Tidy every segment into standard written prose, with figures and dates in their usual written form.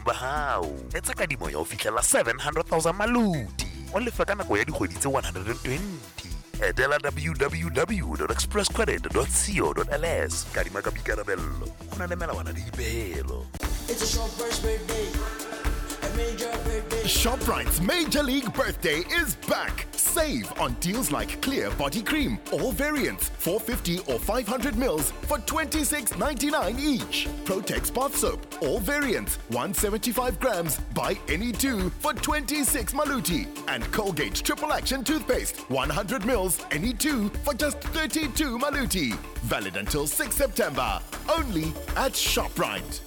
ba hao. Etsa kadimo ya ho fihlela 700 000 maluti. O lefe ka nako ya dikgwedi tse 120. Etela www.expresscredit.co.ls. Kadima ka boikarabello. Ho na le melawana le dipehelo. It's a shopper's birthday. A major birthday. ShopRite's Major League Birthday is back. Save on deals like Clear Body Cream, all variants, 450 or 500 mils for $26.99 each. Protex Bath Soap, all variants, 175 grams, buy any two for 26 maluti. And Colgate Triple Action Toothpaste, 100 mils, any two for just 32 maluti. Valid until 6 September. Only at ShopRite.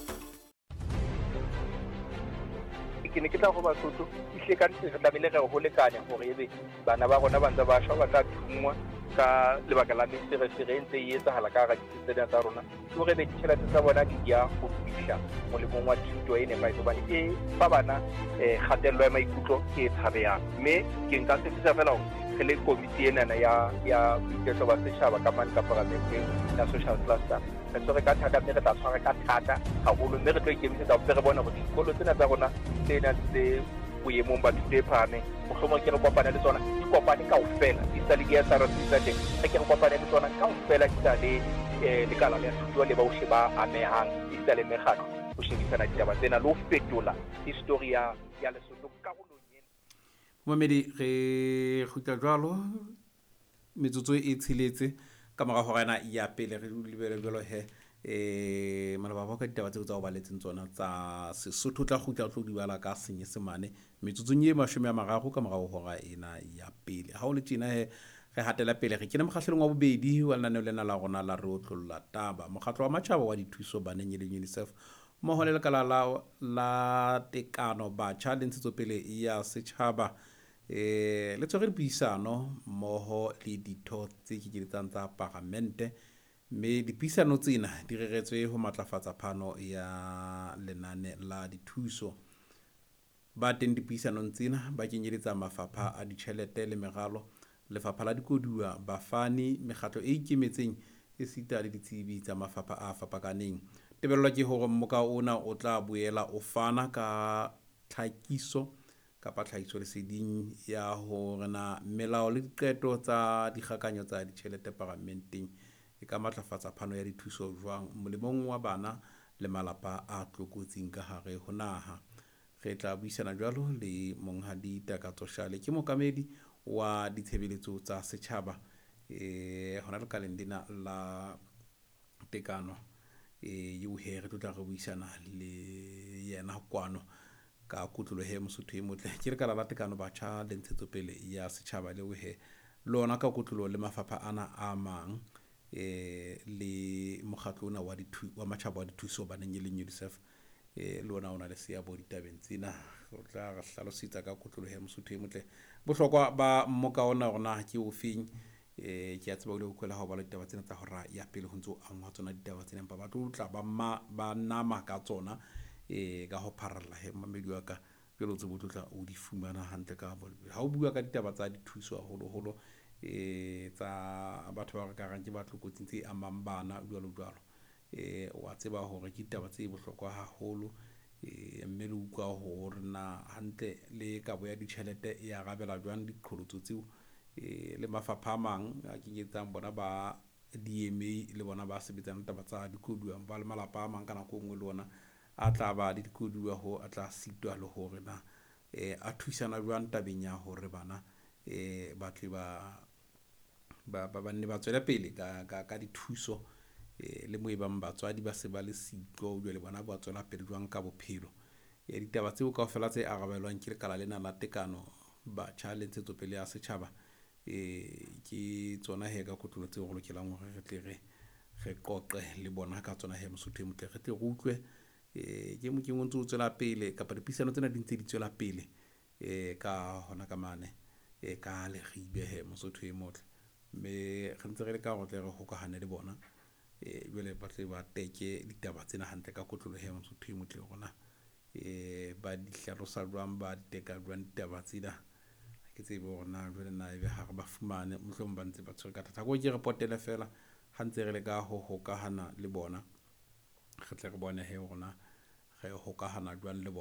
Ke ne ke tla go Basotho ehlile ka nnete re tlamehile re ho lekane hore ebe bana ba rona ba ntse ba shwa, ba tla thungwa ka lebaka la meferefere e ntse e etsahala ka hara ditsi tsena tsa rona, ke hore ebe ditjhelete tsa bona di ya ho fihla molemong wa thuto e nepahetseng, hobane e fa bana kgatello ya maikutlo e tshabehang. Mme ke nka tshepisa feela hore re le komiti enana ya boiketlo ba setjhaba ka mane ka paramenteng ya social cluster, re tshwere ka thata, mme re tla tshwara ka thata haholo, mme re tlo ikemisetsa hore re bone hore dikolo tsena tsa rona tse nang tse boemong ba thuto e phahameng, mohlomong ke re kopane le tsona, di kopane kaofela, di sa le di-S_R_C tsa teng, re ke re kopane le tsona kaofela, di sa le lekala la thuto le bohle ba amehang, di sa le mekgatlo, ho shebisana ditaba tsena le ho fetola history ya Lesotho karolong ena. Momamedi, re kgutla jwalo metsotso e tsheletse ka mora hora ena ya pele. Re lebele jwalo he maloba ba ka ditaba tseo tsa ho baletseng tsona tsa Sesotho, tla kgutla o tlo di bala ka Senyesemane metsotsong e 30 ka morao hora ena ya pele. Ha o le tjena he, re hatela pele, re kene mokgahlelong wa bobedi wa lenaneo lena la rona la Re Otlolla Taba. Mokgatlo wa Matjhaba wa Dithuso Baneng e leng UNICEF mmoho le lekala la tekano batjha le ntshetsopele ya setjhaba le tshwere dipuisano mmoho le ditho tse kenyeletsang tsa paramente, mme dipuisano tsena di reretswe ho matlafatsa phano ya lenane la dithuso. Ba teng dipuisanong tsena ba kenyeletsa mafapha a ditjhelete le meralo, lefapha la dikoduwa, bafani, mekgatlo e ikemetseng esita le ditsebi tsa mafapha a fapakaneng. Tebello ke hore mmoka ona o tla boela o fana ka tlhakiso kapa tlhahisoleseding ya hore na melao le diqeto tsa dikgakanyo tsa ditjhelete paramenteng e ka matlafatsa phano ya dithuso jwang molemong wa bana le malapa a tlokotsing ka hare ho naha. Re tla buisana jwalo le Monghadi Takatso Shale, ke mookamedi wa ditshebeletso tsa setjhaba hona lekaleng lena la tekano eo he re tlo tla re buisana le yena kwano ka kotloloho he Mosotho e motle. Ke lekala la tekano batjha le ntshetsopele ya setjhaba leo he lona ka kotloloho le mafapha ana a mang le mokgatlo ona wa matjhaba wa dithuso baneng e leng UNICEF le ona o na le seabo ditabeng tsena. O tla re hlalosetsa ka kotloloho ya Mosotho e motle bohlokwa ba mmoka ona hore na ke ofeng. Ke a tseba o ile ho utlwela ha o bala ditaba tsena tsa hora ya pele ho ntso angwa tsona ditaba tsena, empa ba tlo tla ba nama ka tsona ka ho pharalla he mamedi wa ka jwale o tsebe o tlo tla o di fumana hantle ka ha o bua ka ditaba tsa dithuso haholoholo tsa batho ba re ka reng ke ba tlokotsing tse amang bana jwalo jwalo. Wa tseba hore ke ditaba tse bohlokwa haholo mme le utlwa hore na hantle le kabo ya ditjhelete e arabela jwang diqholotso tseo le mafapha a mang a kenyetsang bona ba DMA le bona ba sebetsang taba tsa dikoduwa ba le malapa a mang ka nako e nngwe le ona a tla ba le dikoduwa ho a tla sitwa le hore na a thusana jwang tabeng ya hore bana ba tle ba nne ba tswele pele ka dithuso le mo e bang batswadi ba se ba le siko jwale bona ba tswela pele jwang ka bophelo. Ditaba tseo kaofela tse arabelwang ke lekala lena la tekano batjha le ntshetsopele ya setjhaba ke tsona he ka kotlolo tseo re lokelang hore re tle re qoqe le bona ka tsona he Mosotho e motle, re tle re utlwe ke mokeng o ntse o tswela pele kapa dipuisano tsena di ntse di tswela pele ka hona ka mane ka Leribe he Mosotho e motle, mme re ntse re leka hore tle re hokahane le bona jwale ba tle ba teke ditaba tsena hantle ka kotlolo he Mosotho e motle rona ba di hlalosa jwang, ba di teka jwang ditaba tsena. Ke tsebe hore na jwale na ebe ha re ba fumane mohlomong ba ntse ba tshwere ka thata. Ko ke re potele fela ha ntse re leka ho hokahana le bona, re tle re bone he hore na re hokahana jwang le bona.